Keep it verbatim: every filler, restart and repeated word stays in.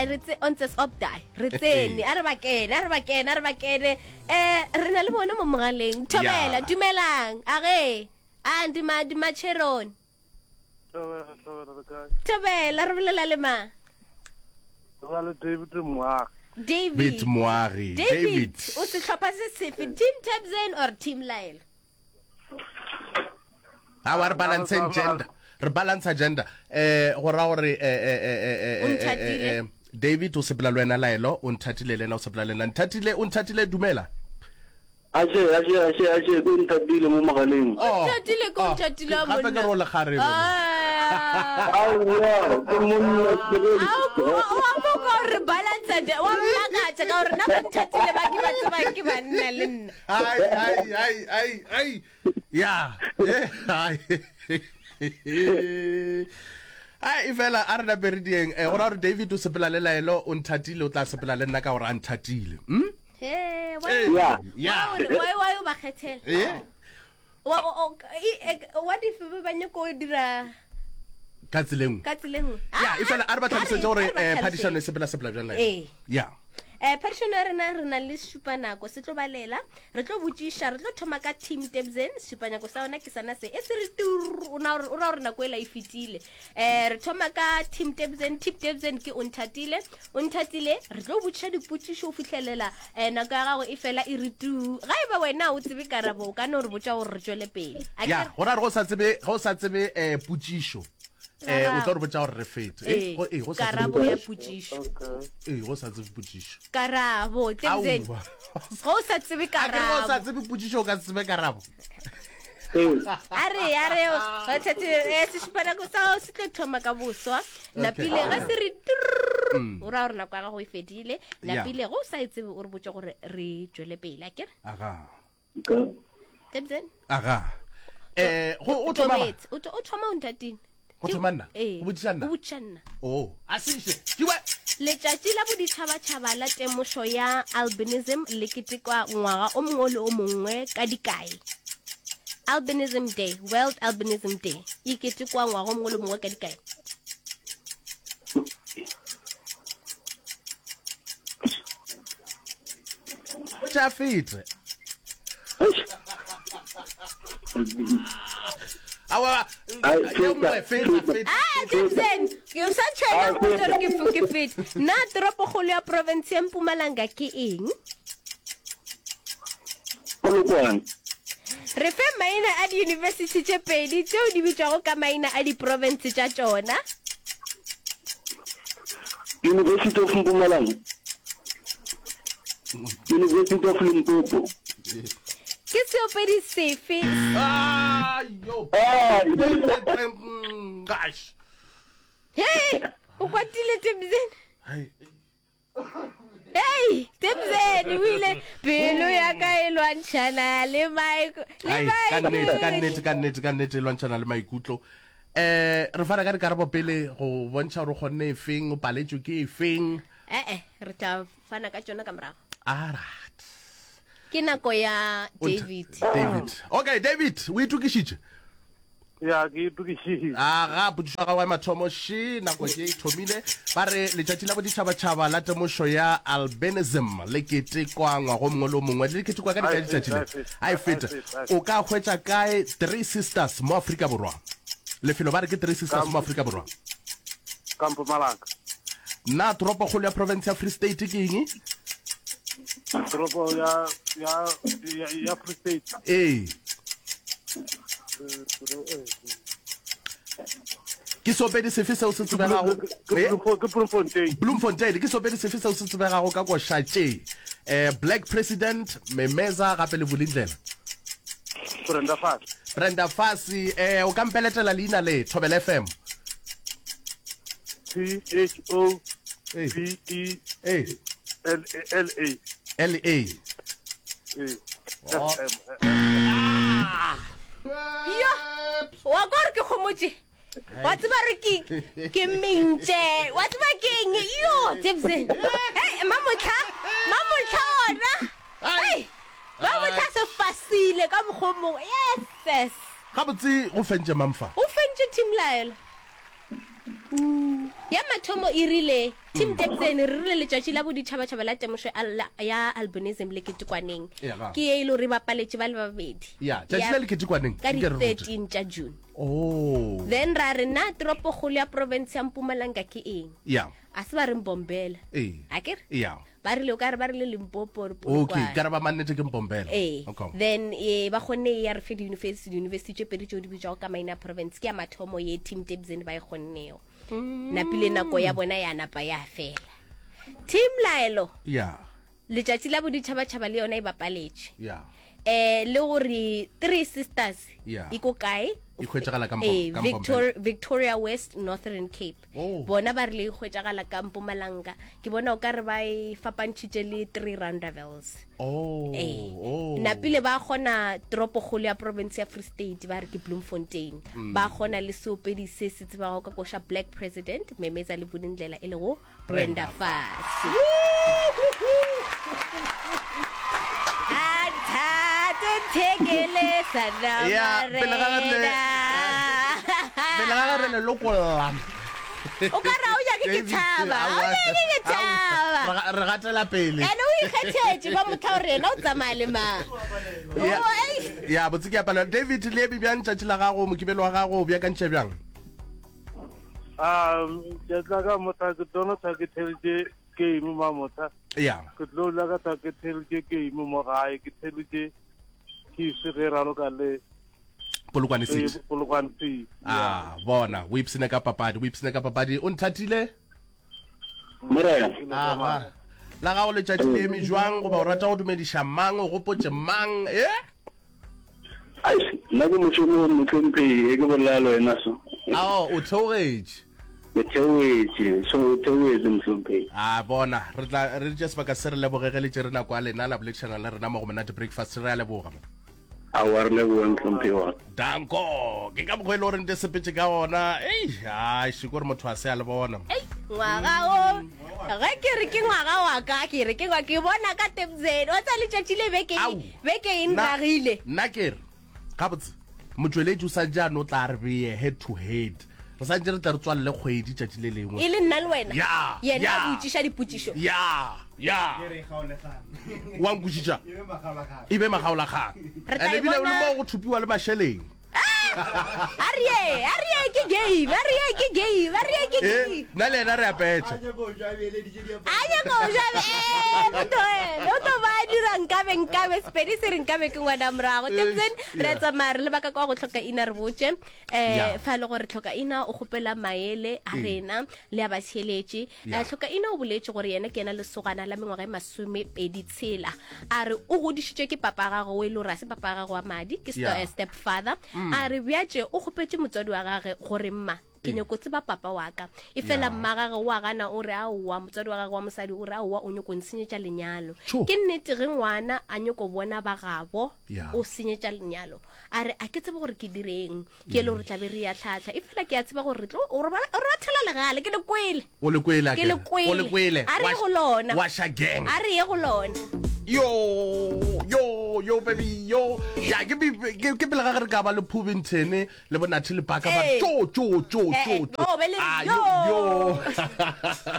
Ai re tse on tses op die. Re tsene, a re ba kene, a re ba kene, a re ba kene. Eh re na le bona mo mogaleng. Thobela, Yeah. dumelang. A ge. A ndi ma di macheroni. Thobela, thobela re kae? Thobela re bolela le mang? Re le David Moagi. David. David Moagi. David, David. o sehlopha se sefe? Team Tabzen or Team Lyle? Awa re balanceng gender. Re balance gender. Eh go ra gore eh eh eh eh, O eh, eh, nthatile. eh, eh, David o sepela le wena Laelo, o nthatile le ena o sepela le nna. Nthatile, o nthatile dumela. Aše, aše, aše, aše, ko nthatile mo mogaleng. Oh, Nthatile ko oh, nthatile wa gape ke monna. re o lekgarebe. Ah. Aowa, ke monna ke Ao, o a mo ka gore balance de wa mmakatša ka gore nna ba nthatile ba ke ba tsebang ke banna le nna. Ai ai ai ai ai. Ya. Eh, ai. Ai e fela a re nape re dieng eh go ra gore David o sepela le Laelo o nthatile o tla sepela le nna ka gore a nthatile. Mm? He, why Eh, Ya. Ya. why why why o ba kgethela? Eh? Wa- o- o- e- e- what if ba ba nyako go dira Ka tseleng. ka tsela e nngwe? Ya, Ah, e fela a re ba ah, tlhalosetse gore a re ba eh tlhalosetse. phadišano e sepela sepela bjang Laelo. Ee. Ya. Eh phadišano ya rena re na le šupanako se tlo balela re tlo botšiša re tlo thoma ka team Tebzen šupanako sa yona ke sana se e se re tur o na o ra gore nako ela e fetile eh re thoma ka team Tebzen team Tebzen ke o nthatile o nthatile re tlo botšiša dipotšišo o fihlelela eh nako ya gago e fela e re tu ga e ba wena o tsebe karabo o ka no re botša gore re tšwele pele A Ya, ke re- go ra gore go sa tsebe go sa tsebe eh potšišo. Eh o tlo re botša gore re fete. Eh Ee, go eh go sa tsebe karabo ya potšišo Okay. eh go sa tsebe potšišo. karabo Tebzen Aowa. ga o sa tsebe A ke re go sa karabo tsebe potšišo o ka se tsebe karabo. Ee. a re a re eh, sešupanako sa gago se tlo thoma ka boswa napile ga se re trrr, o raya gore nako ya gago e fedile Yeah. napile ge o sa e tsebe o re botse gore re tswele pele a kere Aga. Okay. Tebzen Aga. Eh go o thoma mang? Tobetse. O tho- o thoma o nthatile Go thoma nna? Ee. Go botšiša nna? o botšiša nna Oh, a se Kiwe. letšatši la boditšhabatšhaba la temošo ya albinism le ketekwa ngwaga o mongwe le o mongwe ka dikae albinism day world albinism day e ketekwa ngwaga o mongwe le o mongwe ka dikae O tša fete. Awa. Ai, Ye nngwe, feta, feta, feta. feta. Ah, Tebzen, ke o sa tshwenya go botša gore ke f- ke fete. Na toropokgolo ya province ya Mpumalanga ke eng? Polokwane. Re fe maina a diyunibesithi tše pedi tšeo di bitšwago ka maina a diprovince tša tšona. University of Mpumalanga. University of Limpopo. Ke seopedi sefe? Ah, yo. Ah, Mm, Gosh. Hey, o kwatile Tebzen. Hai. Hey, Tebzen o ile pelo ya ka e lwantšhana le maiko le Ai, ka nnete, ka maikutlo. nnete, ka nnete, ka nnete e lwantšhana le maikutlo. Eh, re fana ka dikarabo pele go bontšha gore o kgonne efeng, o paletswe ke efeng. Eh eh, re tla fana ka tšona ka morago. Alright. Ke nako ya O ntha- David. David. Okay, David, o itokišitše? Ya, ke itokišitše. Aga, potšišo ya gago ya mathomo še nako ke e thomile. Ba re letšatši la boditšhabatšhaba la temošo ya albinism le ketekwa ngwaga o mongwe le o mongwe. Le ketekwa ka dikae Ai, letšatši le? feta, A e feta. ai, feta, ai, O ka hwetša kae Three Sisters mo Afrika Borwa? Lefelo ba re ke Three Sisters mo Afrika Borwa. Ka Mpumalanga. Na toropokgolo ya province ya Free State ke eng? Toropo ya ya ya, ya Free State. Ee. Eh, toro- eh, Ke seopedi sefe seo se tsebegago? Ke Eh? Bloemfo- ke Bloemfontein. Bloemfontein ke seopedi sefe seo se tsebegago ka koša tše? Eh Black President, Memeza gape le Vulindlela. Brenda Fassie. Brenda Fassie, eh o ka mpeletela leina le Thobela F M. T H O Ee. B E Ee. L L A. L A. Eh, Oh. F M. Yo, wa ka gore ke gomotše. Wa tseba re ke ke mentše. Wa tseba ke eng? Yo, Tebzen. Hey, mamotlha, mamotlha ona. Hey, mamotlha se fasile ka mokgwa o mongwe. Yes, yes. Gabotse go fentše mang fa? O fentše team Laelo. Ya mathomo e rile Team Tebsen re rile letšatši la boditšhabatšhaba la temošo ya albinism le ketekwaneng. Ke ye e le gore e bapaletše ba le babedi. Ya, tšatši la le ketekwaneng. Ka di thirteen tša June. Oh. Then ra re na toropokgolo ya province ya Mpumalanga ke eng? Ya. A se ba re Mbombela. Ee. A ke re? Ya. Ba rile o ka re ba rile Limpopo or Polokwane. Okay, ka re ba mannete ke Mbombela. Ee. Okay. Then eh, ba kgonne ya re fe di-university, di-university tše pedi tšeo di bitšwago ka maina a province ke ya mathomo ye Team Tebsen ba e kgonnego. Mm. Napile nako ya bona ya napa ya fela. Team Laelo. Yeah. Letšatši la boditšhabatšhaba le yona e bapaletše. Yeah. Eh le gore Three Sisters Yeah. e ko kae? E hwetšagala ka Mpom- Eh, ka Victor- Mpombela. Victoria West Northern Cape. Oh. Bona ba rile e hwetšagala ka Mpumalanga. Ke bona o ka re ba e fapantšhitše le Three Rondavels. Oh, Eh. oh. Napile ba kgona toropokgolo ya province ya Free State ba re ke Bloemfontein. Mm. Ba kgona le seopedi se se tsebago ka koša Black President Memeza le Vulindlela e lego Brenda Fassie. Ya, pele ga re le- pele ga re le lokolla. O ka re ha o nyake ke tšhaba, ha o nyake ke tšhaba. Re ga- re gatela pele. Ene o ikgethetše ba motho wa gore yena o tsamaya le mang. Ya, Oh, ei. ya, botse ke a palelwa. David, le eme bjang tšatši la gago, mokibelo wa gago o beakantše bjang? Um, ke tla ka motha ke tlo tla ke theletše game ma motha. Ya. Ke tlo la ka tla ke theletše game mo gae, ke theletše Chiefs ge raloka le Polokwane City. Polokwane City. Ah, bona, o ipsene ka papadi, o ipsene ka papadi. O nthatile? Morena. Aha. La gago letšatši le eme jwang, goba o rata go dumediša mang, o gopotše mang, eh? Ai, nna ke mošomo mohlomphegi, e ke bolela le wena so. Ao, o theogetše. Ke theogetše, so o theogetše mohlomphegi. A bona, re tla re tše sebaka se re lebogege le tšere nako ya lena la boledišana le rena mo go Monate Breakfast, re a leboga. Aowa, re leboga mohlomphegi wa ka. Danko, ke ka mokgwa e le gore nte sepetse ka ona. Ei, ai, šiko gore motho a se a le bona. Ei, ngwaga o, ge ke re ke ngwaga wa ka, ke re ke ngwa, ke bona ka Tebsen. Wa tseba letšatši le beke e, Au. beke e Nna- nragile. Nna ke re, gabotse, motšweletši o sa ntše a no tla re beye head to head. Re sa ntše re tla re tswalele kgwedi tšatši le lengwe. E le nna le wena. Ya, Yena ya. a botšiša dipotšišo. Ya, ya. Wa nkwešiša? E be makgaolakgang. Re tla And e ebile o le bona- mo go thupiwa le mašeleng. A re ye, a re ye ke game, a re ye ke game, a re ye ke Eh, game. nna le yena re a petšha. A nyaka go ja, eh, motho e, o tlo ba a dira nkabe, nkabe, Sepedi se re nkabe ke ngwana morago. Eh, Tebsen, re a yeah. tsamaya re lebaka kwa go tlhoka ina re botše. Eh, Yeah. fa e le gore tlhoka ina o kgopela maele a Mm. rena le a batheeletše. Yeah. Eh, tlhoka ina o boletše gore yena ke yena lesogana la mengwaga e masomepedi tshela. A re o godišitšwe ke papa gagwe o e le gore ha se papa gagwe wa madi, ke sto- Yeah. eh, stepfather. Mm. A re bjatše o kgopetše motswadi wa gagwe gore mma ke nyako tseba papa wa ka. E fela Yeah. mma gagwe wa gana o re aowa, motswadi wa gagwe wa mosadi o re aowa, o nyako nsenyetša lenyalo. Tjho. Ke nnete ge ngwana a nyako bona ba gabo, Yeah. o senyetša lenyalo. A re a ke tsebe gore ke direng, ke e le gore tla be re ya tlhatlha. E fela ke a tseba gore re tlo, o re ba, o re bathela legale, ke le kwele. O le kwele, Ke le akere? O le kwele. kwele. A re ye Wa- go lona. wa sha gang. A re ye go lona. Yo, yo, yo, baby, yo. Ya, ke bi-, ke, ke pele ga ge re ka ba le Phubington le bo Nathi le Baka ba Ee. tjo, tjo, tjo, Eh, tjo, eh, tjo. oh, be le Ah, yo. yo, yo.